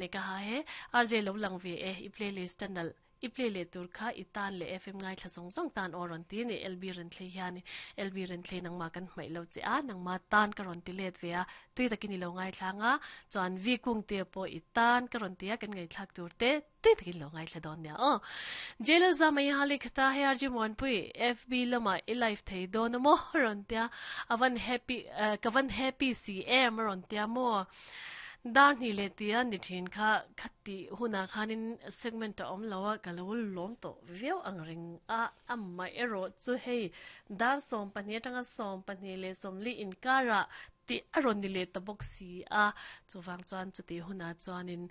Ne ka ha he RJ lo lang ve e i playlist a nalh i play leh tur kha i tan leh FM ngaithla zawng zawng tan aw rawn ti a ni LB Renthlei hian LB Renthlei nangmah kan hmaih lo che a nangmah tan ka rawn ti let ve a tui takin i lo ngaithla ang a chuan V Kungte pawh i tan ka rawn ti a kan ngaihthlak tur te tui takin lo ngaithla dawn nia aw Jailal Zama i hali khata hei RJ Muanpui FB lamah i live thei dawn a maw rawn tia a van happy ka van happy si em a rawn tia maw. Dar hnih leh tia ni thin kha khati hunah khanin segment a awm lo a, ka lo lawm tawh viau ang reng a, amah erawh chu hei dar 12 atanga 12 leh 40 inkarah tih a rawn ni leh ta bawk si a, chuvang chuan chutih hunah chuanin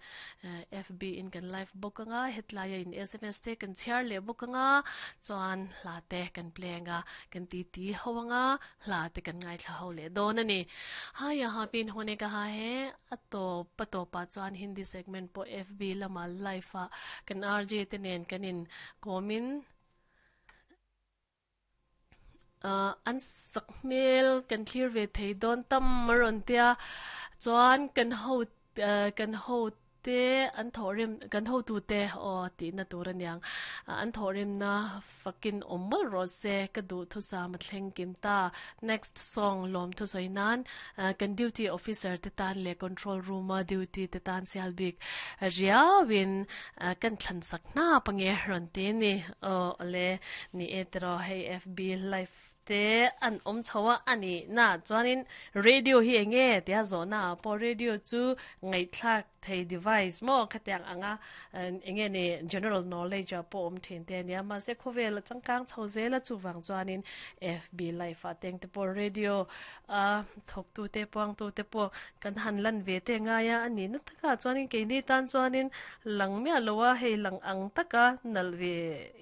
FB in kan live bawk anga, hetlaia in sms te kan chhiar leh bawk anga, chuan hla te kan play anga, kan titi ho anga. Hla te kan ngaithla ho leh dawn a ni. Ha yaha pin hone ka ha he a tawp a tawpah chuan Hindi segment pawh FB lama live ah kan RJ te nen kan in kawmin ah an sak hmel kan thlir ve thei dawn tam a rawn tia chuan kan ho kan ho te an thawhrim kan hotute aw tihna tur aniang an thawhrimna fakin awm mawlh rawh se ka duh thusam a thleng kim ta next song lawm thusawi nan kan duty officer te tan leh control room a duty te tan sial bik riauin kan thlan sak hnap ange rawn ti a ni aw awle ni e tiraw hei FB live te an awm chho a a nih na chuanin radio hi eng nge tia zawhna ah pawh radio chu ngaihthlak thei device maw khatiang anga eng nge ni general knowledge ah pawh awm thin te ania mahse khawvel a changkang chho zel a chuvang chuanin FB live ah teng te pawh radio a thawk tu te puang tu te pawh kan han lan ve te ngai a a nih na takah chuanin keini tan chuanin lang miah lo a hei lang ang taka nalh ve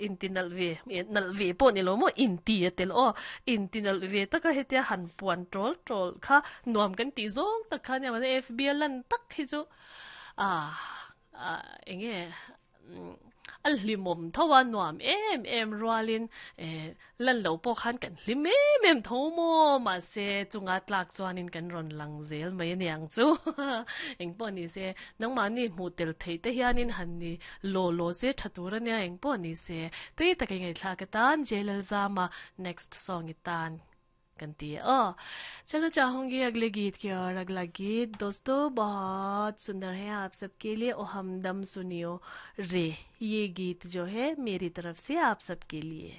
inti nalh ve nalh ve pawh ni lo maw inti a tel aw inti nalh ve taka hetia han puan tawl tawl kha nuam kan tih zawng tak kha nia mahse FB a lan tak hi chu ah eng nge a hlimawm tho a nuam em em rualin eh lan lo pawh khan kan hlim em em tho maw mahse chunga tlak chuanin kan rawn lang zel mai a niang chu engpawh ni se nangmahni hmuh tel theih te hianin han ni law law se tha tur a nia engpawh ni se tui taka ngaihthlak atan Jailalzama next song i tan kan ti e aw चलो चाहूंगी अगले गीत की और अगला गीत दोस्तों बहुत सुंदर है आप सबके लिए ओ हमदम सुनियो रे ये गीत जो है मेरी तरफ से आप सबके लिए।